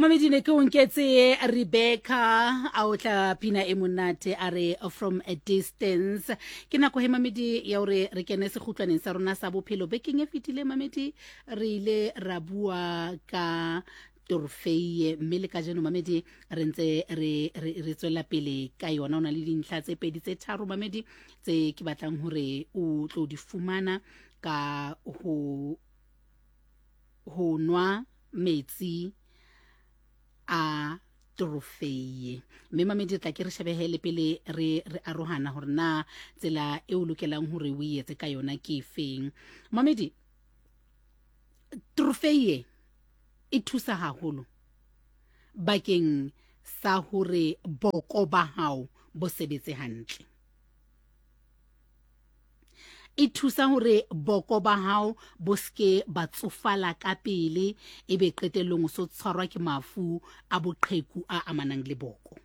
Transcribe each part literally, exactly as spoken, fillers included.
Mamedi ne ke o nketse Rebecca a o tla pina e monate a re "From a Distance". Ke nako he, mamedi, ya hore re kene sekgutlwaneng sa rona sa bophelo. Bekeng e fetile, mamedi, re ile ra bua ka torfeie, mme le kajeno, mamedi, re ntse re re re tswela pele ka yona. O na le dintlha tse pedi tse tharo, mamedi, tse ke batlang hore o tlo di fumana ka ho ho nwa metsi a torofeie. Mme, mamedi, re tla ke re shebehe le pele re re arohana hore na tsela e o lokelang hore o etse ka yona ke efeng. Mamedi, torofeie e thusa haholo bakeng sa hore boko ba hao bo sebetse hantle. E thusa hore boko ba hao bo ske ba tsofala ka pele, ebe qetellong o so tshwarwa ke mafu a boqheku a amanang le boko.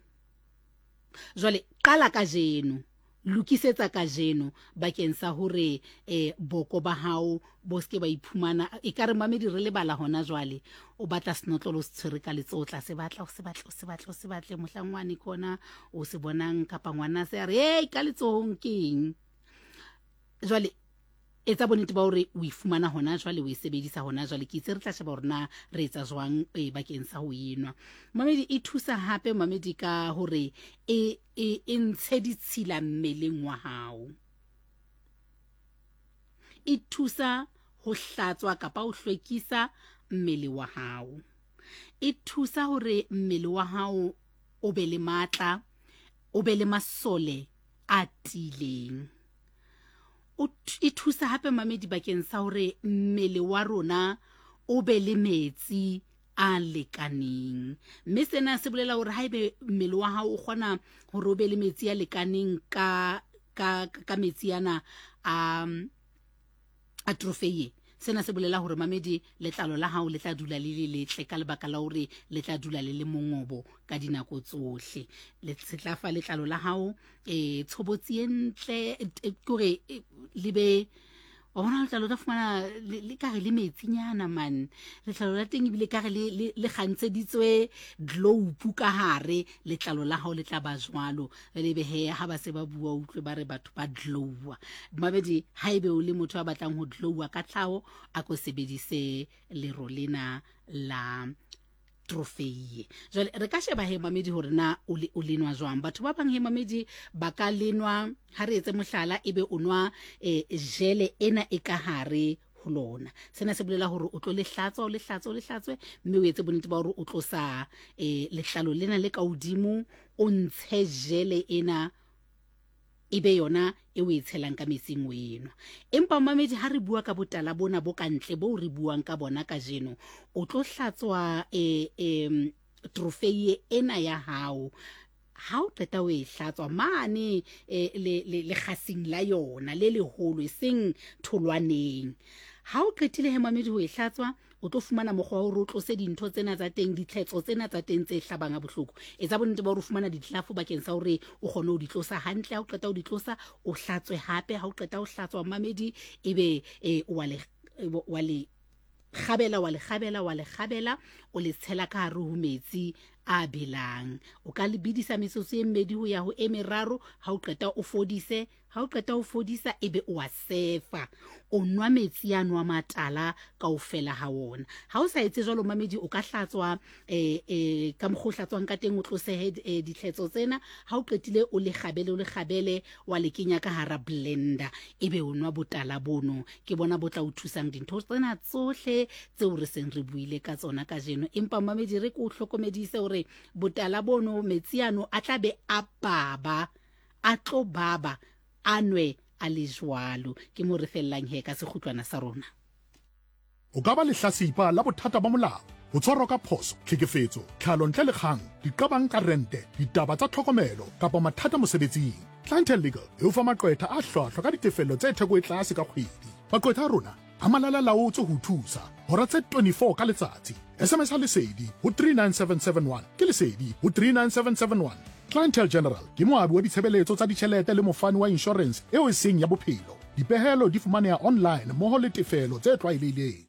Jwale qala kajeno, lokisetsa kajeno bakeng sa hore eh boko ba hao bo ske ba iphumana ekare, mamedi, re lebala hona jwale. O batla senotlolo, o se tshwere ka letsoho, tla se batla, o se batle, o se batle, o se batle, mohlang wane ke ona o se bonang, kapa ngwana se a re, "Hey, ka letsohong ke eng?" Jwale etsa bonnete ba hore o e fumana hona jwale, o e sebedisa hona jwale. Ke itse re tla sheba hore na re etsa jwang e bakeng sa ho enwa. Mamedi, e thusa hape, mamedi, ka hore e e e ntshe ditshila mmeleng wa hao. E thusa ho hlatswa kapa ho hlwekisa mmele wa hao. E thusa hore mmele wa hao o be le matla, o be le masole a tiileng. O e thusa hape, mamedi, bakeng sa hore mmele wa rona o be le metsi a lekaneng, mme sena se bolela hore haebe mmele wa hao o kgona hore o be le metsi a lekaneng ka ka ka metsi ana a a trofeie, sena se bolela hore, mamedi, letlalo la hao le tla dula le le letle ka lebaka la hore le tla dula le le mongobo ka dinako tsohle. Le se tla fa letlalo la hao eh tshobotsi e ntle, ke hore le be wa bona letlalo tla fumana le kare le metsinyana man, letlalo la teng ebile kare le le le kgantsheditswe globe ka hare. Letlalo la hao le tla ba jwalo le be he ha ba se ba bua, utlwe ba re batho ba glowa. Mamedi, haebe o le motho a batlang ho glowa ka tlhaho, a ko sebedise lero lena la trofeie. Jwale re ka sheba he, mamedi, hore na o le o lenwa jwang. Batho ba bang he, mamedi, ba ka lenwa, ha re etse mohlala, ebe o nwa eh, jele ena e ka hare ho lona. Sena se bolela hore o tlo le hlatswa, o le hlatswe, o le hlatswe, mme o etse bonnete ba hore o tlosa eh, letlalo lena le ka hodimo, o ntshe jele ena, e be yona e o e tshelang ka metsing o enwa. Empa, mamedi, ha re bua ka botala bona bo ka ntle bo re buang ka bona kajeno, o tlo hlatswa e, e, trofeie ena ya hao. Ha o qeta o e hlatswa mane e, le, le, lekgasing la yona le leholo, e seng tholwaneng. Ha o qetile he, mamedi, ho e hlatswa, o tlo fumana mokgwa wa hore o tlose dintho tsena tsa teng, ditlhetso tsena tsa teng tse hlabang ha bohloko. Etsa bonnete ba hore o fumana ditlelafo bakeng sa hore o kgone ho di tlosa hantle. Ha o qeta ho di tlosa, o hlatswe hape. Ha o qeta ho hlatswa, mamedi, ebe e, wa le wa le kgabela, wa le kgabela, wa le kgabela, o le tshela ka hare ho metsi a belang. O ka le bidisa metsotso e mmedi ho ya ho e meraro. Ha o qeta o fodise. Ha o qeta ho fodisa, ebe o a sefa, o nwa metsi ano a matala kaofela ha wona. Ha o sa etse jwalo, mamedi, o ka hlatswa eh, eh, ka mokgwa o hlatswang ka teng, o tlosehe eh, ditlhetso tsena. Ha o qetile, o le kgabele, o le kgabele, wa le kenya ka hara blender, ebe o nwa botala bono. Ke bona bo tla o thusang dintho tsena tsohle tseo re seng re buile ka tsona kajeno. Empa, mamedi, re ke o hlokomedise hore botala bono, metsi ano a tla be a baba, a tlo baba, a nwe a le jwalo. Ke mo re fellang he ka sekgutlwana sa rona. O ka ba lehlasipa la bothata ba molao, ho tshwarwa ka phoso, tlhekefetso, tlhalo ntle le kgang, diqabang ka rente, ditaba tsa tlhokomelo kapa mathata mosebetsing. Clientele Legal e o fa maqwetha a hlwahlwa ka ditefello tse theko e tlase ka kgwedi. Maqwetha a rona a malala laotswe ho thusa hora tse twenty-four ka letsatsi. S M S ha Lesedi ho three nine seven seven one, ke Lesedi ho three nine seven seven one. Clientele General ke moabi wa ditshebeletso tsa ditjhelete le mofani wa insurance eo e seng ya bophelo. Dipehelo di fumaneha online mmoho le tefelo tse tlwaelehileng.